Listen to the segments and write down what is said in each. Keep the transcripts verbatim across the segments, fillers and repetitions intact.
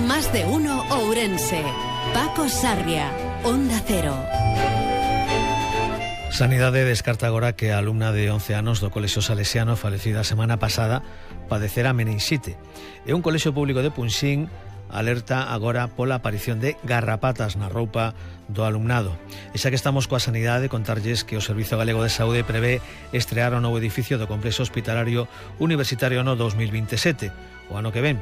Más de uno Ourense. Paco Sarria, Onda Cero. Sanidade descarta agora que a alumna de once anos do Colexio Salesiano falecida a semana pasada padecera meningite. E un colexio público de Punxín alerta agora pola aparición de garrapatas na roupa do alumnado. E xa que estamos coa sanidade, contarlles que o Servizo Galego de Saúde prevé estrear o novo edificio do Complexo Hospitalario Universitario no dos mil veintesete, o ano que ven.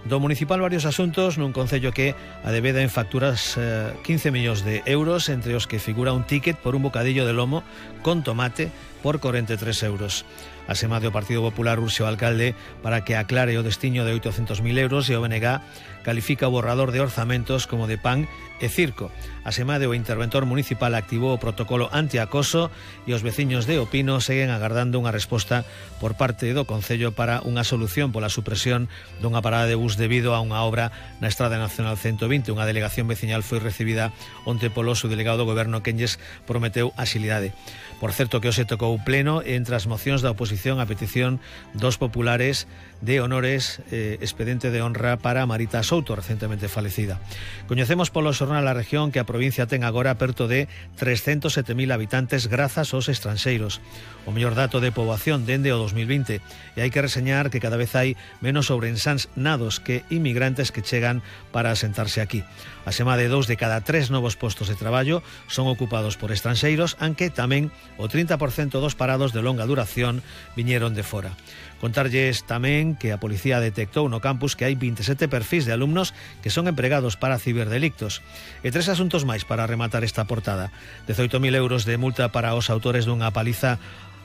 Do municipal varios asuntos nun concello que adebeda en facturas eh, quince millóns de euros, entre os que figura un ticket por un bocadillo de lomo con tomate por corenta e tres euros. A sema do Partido Popular urxe o alcalde para que aclare o destiño de oitocentos mil euros e o B N G califica o borrador de orzamentos como de pan e circo. A sema do interventor municipal activou o protocolo antiacoso e os veciños de Opino seguen agardando unha resposta por parte do Concello para unha solución pola supresión dunha parada de bus debido a unha obra na Estrada Nacional ciento vinte. Unha delegación veciñal foi recibida onte polo subdelegado do Goberno quen lles prometeu axilidade. Por certo que hoxe tocou pleno entre as mocións da oposición a petición dos populares de honores eh, expediente de honra para Marita Souto, recentemente falecida. Coñecemos polo xornal A Región que a provincia ten agora perto de trescentos sete mil habitantes grazas aos estranxeiros. O mellor dato de poboación dende o dos mil vinte, e hai que reseñar que cada vez hai menos ourensáns nados que inmigrantes que chegan para asentarse aquí. A sema de dous de cada tres novos postos de traballo son ocupados por estranxeiros, aunque tamén o trinta por cento dos parados de longa duración viñeron de fora. Contarlles tamén que a policía detectou no campus que hai veintisiete perfis de alumnos que son empregados para ciberdelictos. E tres asuntos máis para rematar esta portada. dezoito mil euros de multa para os autores dunha paliza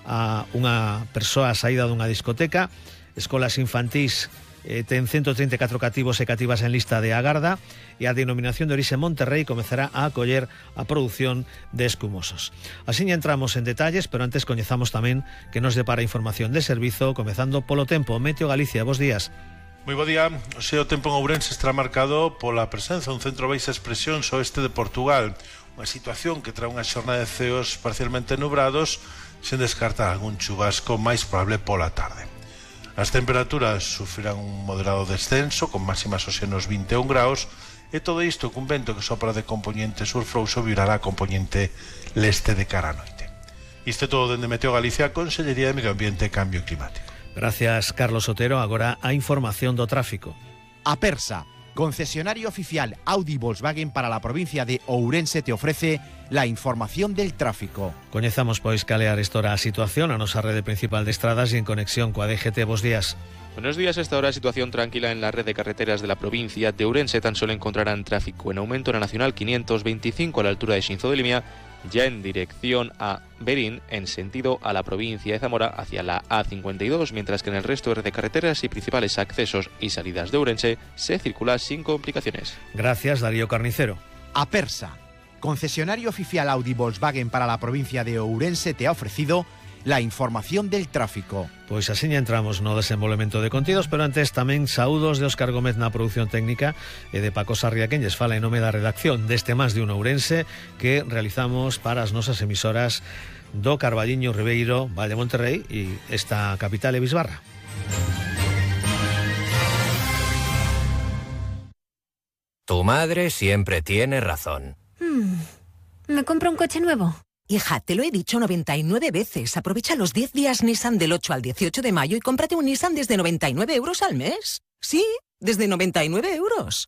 a unha persoa saída dunha discoteca. Escolas infantís eh, ten ciento treinta e catro cativos e cativas en lista de agarda, e a denominación de orixe Monterrey comezará a acoller a produción de escumosos. Así entramos en detalles, pero antes coñezamos tamén que nos depara información de servizo, comezando polo tempo. Meteo Galicia, bos días. Moi bo día. O seu tempo en Ourense estará marcado pola presenza dun centro baixa expresión ao oeste de Portugal, unha situación que trae unha xornada de ceos parcialmente nubrados, sen descartar algún chubasco máis probable pola tarde. As temperaturas sufrirán un moderado descenso, con máximas hoxe nos vinte e un graus, e todo isto cun vento que sopra de componente sur frouxo virará a componente leste de cara a noite. Isto é todo dende Meteo Galicia, Consellería de Medio Ambiente e Cambio Climático. Gracias, Carlos Otero. Agora a información do tráfico. Apersa, concesionario oficial Audi Volkswagen para la provincia de Ourense, te ofrece la información del tráfico. Coñezamos pois calear estora a situación a nosa rede principal de estradas e en conexión coa D G T. Bos días. Buenos días. A esta hora situación tranquila en la red de carreteras de la provincia de Ourense. Tan solo encontrarán tráfico en aumento en la Nacional quinientos veinticinco a la altura de Xinzo de Limia, ya en dirección a Berín, en sentido a la provincia de Zamora hacia la A cincuenta y dos, mientras que en el resto de red de carreteras y principales accesos y salidas de Ourense se circula sin complicaciones. Gracias, Darío Carnicero. Apersa, concesionario oficial Audi Volkswagen para la provincia de Ourense, te ha ofrecido la información del tráfico. Pois así entramos no desenvolvemento de contidos, pero antes tamén saúdos de Óscar Gómez na produción técnica e de Paco Sarria, quen lles fala en nome da redacción deste Más de un Ourense que realizamos para as nosas emisoras do Carballiño, Ribeiro, Val de Monterrey e esta capital e Bisbarra. Tu madre siempre tiene razón. Hmm. ¿Me compro un coche nuevo? Hija, te lo he dicho noventa y nueve veces. Aprovecha los diez días Nissan del ocho al dieciocho de mayo y cómprate un Nissan desde noventa y nueve euros al mes. Sí, desde noventa y nueve euros.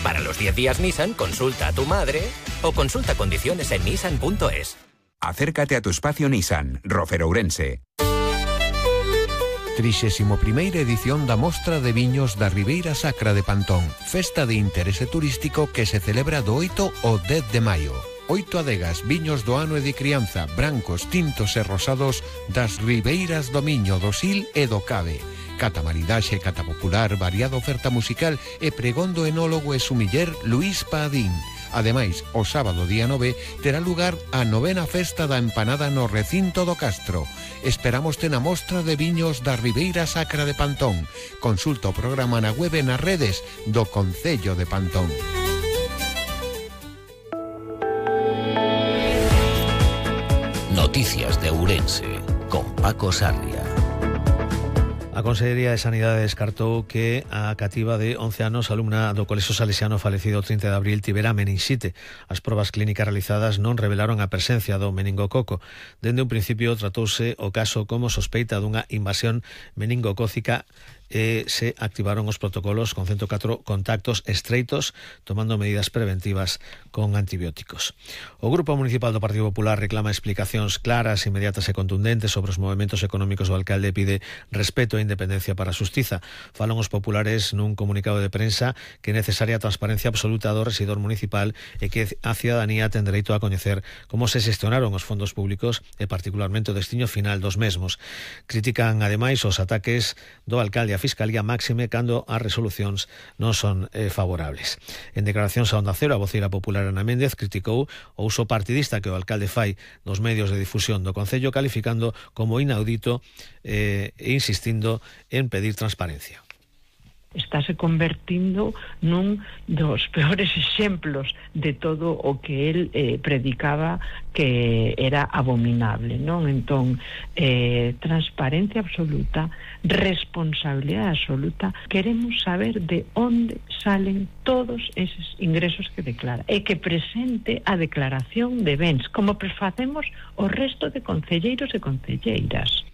Para los diez días Nissan, consulta a tu madre o consulta condiciones en nissan punto es. Acércate a tu espacio Nissan, Rofer Ourense. trixésima primeira edición da Mostra de Viños da Ribeira Sacra de Pantón, festa de interese turístico que se celebra do oito ao dez de maio. Oito adegas, viños do ano e de crianza, brancos, tintos e rosados das ribeiras do Miño, do Sil e do Cabe. Cata maridaxe, cata popular, variada oferta musical e pregón do enólogo e sumiller Luís Padín. Ademais, o sábado día nove terá lugar a novena festa da empanada no recinto do Castro. Esperámoste na Mostra de Viños da Ribeira Sacra de Pantón. Consulta o programa na web e nas redes do Concello de Pantón. Noticias de Ourense con Paco Sarria. A Consellería de Sanidade descartou que a cativa de once anos, alumna do Colexio Salesiano falecido o trinta de abril, tivera meninxite. As probas clínicas realizadas non revelaron a presencia do meningococo. Dende un principio tratouse o caso como sospeita dunha invasión meningocócica e se activaron os protocolos con ciento catro contactos estreitos, tomando medidas preventivas con antibióticos. O Grupo Municipal do Partido Popular reclama explicacións claras, inmediatas e contundentes sobre os movementos económicos do alcalde e pide respeto e independencia para a xustiza. Falan os populares nun comunicado de prensa que é necesaria a transparencia absoluta do rexidor municipal e que a cidadanía ten dereito a coñecer como se xestionaron os fondos públicos e particularmente o destino final dos mesmos. Critican ademais os ataques do alcalde a Fiscalía máxime cando as resolucións non son eh, favorables. En declaracións a Onda Cero, a voceira popular Ana Méndez criticou o uso partidista que o alcalde fai dos medios de difusión do Concello, calificando como inaudito eh, e insistindo en pedir transparencia. Estáse convertindo nun dos peores exemplos de todo o que el eh, predicaba que era abominable, non? Entón, eh, transparencia absoluta, responsabilidade absoluta. Queremos saber de onde salen todos eses ingresos que declara e que presente a declaración de bens, como facemos o resto de concelleiros e concelleiras.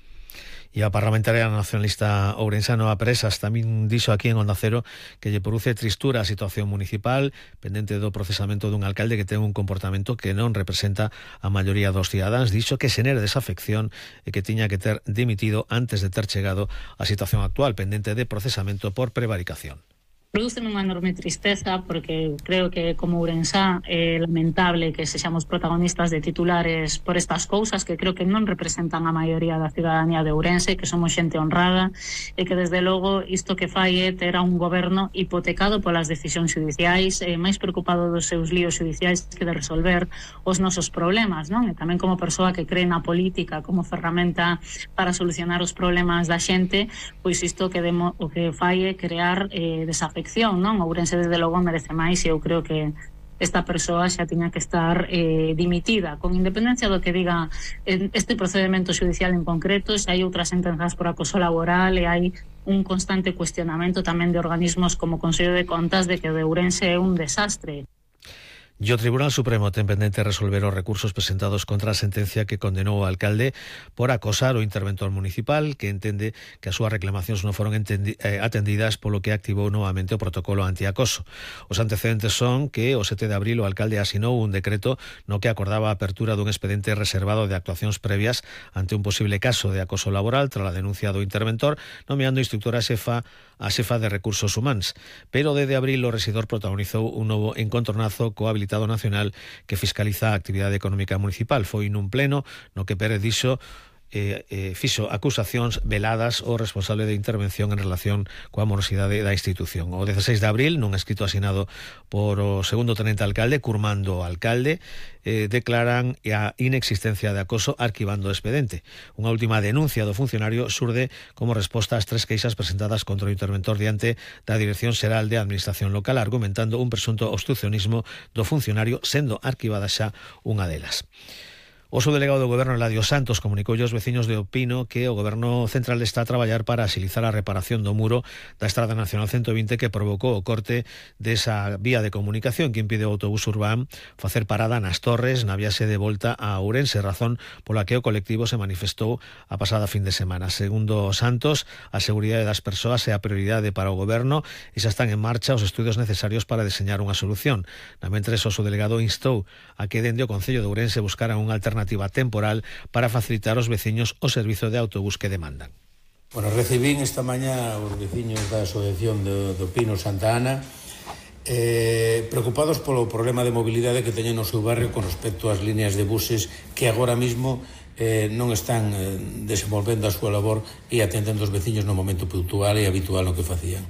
E a parlamentaria nacionalista ourensana Presas tamén dixo aquí en Onda Cero que lle produce tristura a situación municipal pendente do procesamento dun alcalde que ten un comportamento que non representa a maioría dos cidadáns. Dixo que xenera desafección e que tiña que ter dimitido antes de ter chegado á situación actual pendente de procesamento por prevaricación. Prodúceme unha enorme tristeza porque creo que como ourensá é lamentable que sexamos protagonistas de titulares por estas cousas que creo que non representan a maioría da cidadanía de Ourense, que somos xente honrada e que desde logo isto que fai é ter a un goberno hipotecado polas decisións judiciais, eh, máis preocupado dos seus líos judiciais que de resolver os nosos problemas, non? E tamén como persoa que cree na política como ferramenta para solucionar os problemas da xente, pois isto que demo, o que fai é crear eh, desafección, non? Ourense desde logo merece máis e eu creo que esta persoa xa tiña que estar eh, dimitida, con independencia do que diga este procedimento judicial en concreto. Se hai outras sentenzas por acoso laboral e hai un constante cuestionamento tamén de organismos como o Consello de Contas de que o de Ourense é un desastre. E o Tribunal Supremo ten pendente resolver os recursos presentados contra a sentencia que condenou o alcalde por acosar o interventor municipal, que entende que as súas reclamacións non foron entendi- eh, atendidas, polo que activou novamente o protocolo antiacoso. Os antecedentes son que o sete de abril o alcalde asinou un decreto no que acordaba a apertura dun expediente reservado de actuacións previas ante un posible caso de acoso laboral tras a denuncia do interventor, nomeando instructora xefa a xefa de recursos humanos. Pero desde abril o rexidor protagonizou un novo encontronazo co habilitado nacional que fiscaliza a actividade económica municipal. Foi nun pleno no que Pérez dixo Eh, eh, fixo acusacións veladas ao responsable de intervención en relación coa morosidade da institución. O dezasseis de abril, nun escrito asinado por o segundo tenente alcalde, curmando o alcalde, eh, declaran a inexistencia de acoso arquivando o expediente. Unha última denuncia do funcionario surde como resposta ás tres queixas presentadas contra o interventor diante da Dirección Xeral de Administración Local, argumentando un presunto obstruccionismo do funcionario, sendo arquivada xa unha delas. O subdelegado do Goberno, Eladio Santos, comunicou aos veciños de Opino que o Goberno Central está a traballar para axilizar a reparación do muro da Estrada Nacional ciento vinte que provocou o corte desa vía de comunicación que impide o autobús urbán facer parada nas Torres na viaxe de volta a Ourense, razón pola que o colectivo se manifestou a pasada fin de semana. Segundo Santos, a seguridade das persoas é a prioridade para o Goberno e xa están en marcha os estudios necesarios para deseñar unha solución. Na mentres, o subdelegado instou a que dende o Concello de Ourense buscaran unha alternativa temporal para facilitar aos veciños o servizo de autobús que demandan. Bueno, recibín esta mañá os veciños da Asociación do, do Pino Santa Ana eh, preocupados polo problema de mobilidade que teñen no seu barrio con respecto ás líneas de buses que agora mismo eh, non están eh, desenvolvendo a súa labor e atendendo os veciños no momento puntual e habitual no que facían.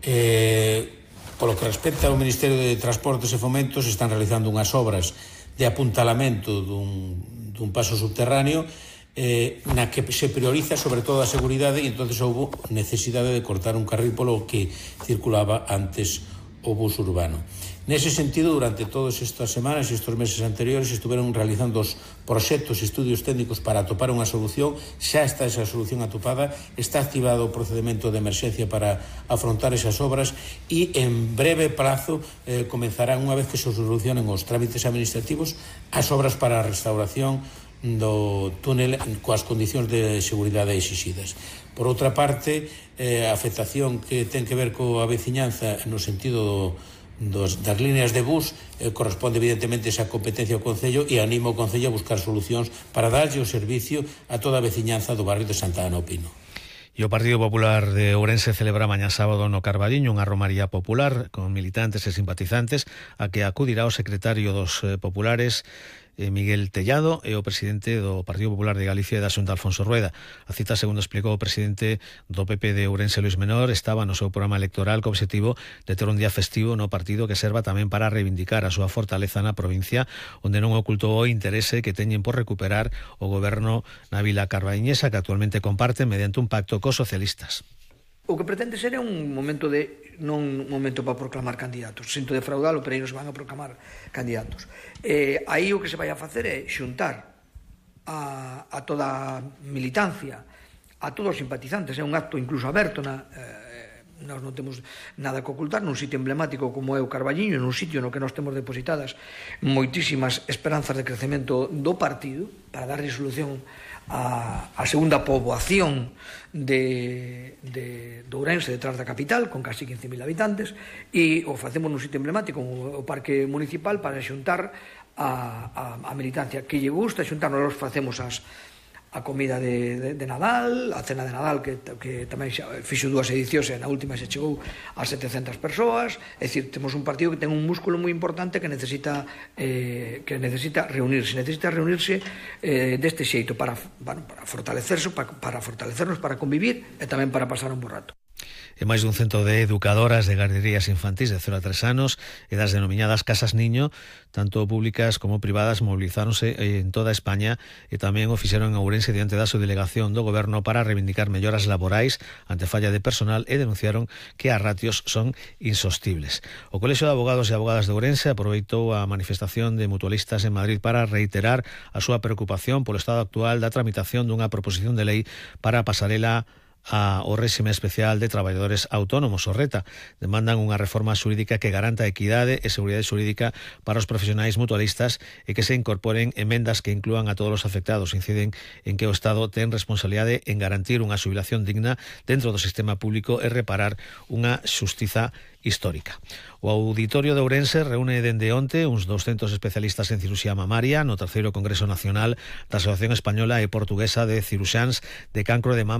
Eh, polo que respecta ao Ministerio de Transportes e Fomentos, están realizando unhas obras de apuntalamento dun, dun paso subterráneo eh, na que se prioriza sobre todo a seguridade e entonces houve necesidade de cortar un carril polo que circulaba antes o bus urbano. Nese sentido, durante todas estas semanas e estes meses anteriores estiveron realizando os proxectos e estudios técnicos para atopar unha solución. Xa está esa solución atopada, está activado o procedimento de emerxencia para afrontar esas obras e en breve plazo eh, comenzarán, unha vez que se solucionen os trámites administrativos, as obras para a restauración do túnel coas condicións de seguridade exixidas. Por outra parte, eh, a afectación que ten que ver coa veciñanza no sentido dos, das líneas de bus eh, corresponde evidentemente esa competencia ao Concello, e animo ao Concello a buscar solucións para darlle o servicio a toda a veciñanza do barrio de Santa Ana o Pino. E o Partido Popular de Ourense celebra mañá sábado no Carballiño unha romaría popular con militantes e simpatizantes a que acudirá o secretario dos eh, populares Miguel Tellado e o presidente do Partido Popular de Galicia e da Xunta, Alfonso Rueda. A cita, segundo explicou o presidente do P P de Ourense, Luís Menor, estaba no seu programa electoral co obxectivo de ter un día festivo no partido que serva tamén para reivindicar a súa fortaleza na provincia, onde non ocultou o interese que teñen por recuperar o goberno na vila carballiñesa, que actualmente comparten mediante un pacto cos socialistas. O que pretende ser é un momento de non un momento para proclamar candidatos. Sinto defraudalo, pero aí non se van a proclamar candidatos. Eh, aí o que se vai a facer é xuntar a, a toda a militancia, a todos os simpatizantes. É un acto incluso aberto na... Eh, nós non temos nada que ocultar nun sitio emblemático como é o Carballiño, nun sitio no que nós temos depositadas moitísimas esperanzas de crecemento do partido para dar resolución a, a segunda poboación de, de, de Ourense detrás da capital, con casi quince mil habitantes, e o facemos nun sitio emblemático como o Parque Municipal para xuntar a, a, a militancia que lle gusta xuntar. Nós facemos as a comida de, de, de Nadal, a cena de Nadal que, que tamén xa fixo dúas edicións e na última se chegou a setecentas persoas. É dicir, temos un partido que ten un músculo moi importante que necesita eh, que necesita reunirse, necesita reunirse eh, deste xeito para, bueno, para fortalecerse, para, para fortalecernos, para convivir e tamén para pasar un bo rato. E máis dun cento de educadoras de garderías infantís de cero a tres anos e das denominadas Casas Niño, tanto públicas como privadas, mobilizáronse en toda España e tamén o fixeron en Ourense diante da subdelegación do Goberno para reivindicar melloras laborais ante falla de personal e denunciaron que as ratios son insostibles. O Colexio de Abogados e Abogadas de Ourense aproveitou a manifestación de mutualistas en Madrid para reiterar a súa preocupación polo estado actual da tramitación dunha proposición de lei para a pasarela a o réxime especial de traballadores autónomos, o RETA. Demandan unha reforma xurídica que garanta equidade e seguridade xurídica para os profesionais mutualistas e que se incorporen emendas que inclúan a todos os afectados. Inciden en que o Estado ten responsabilidade en garantir unha xubilación digna dentro do sistema público e reparar unha xustiza histórica. O Auditorio de Ourense reúne dende onte uns doscentos especialistas en cirurxía mamaria no terceiro Congreso Nacional da Asociación Española e Portuguesa de Ciruxáns de Cancro de Mama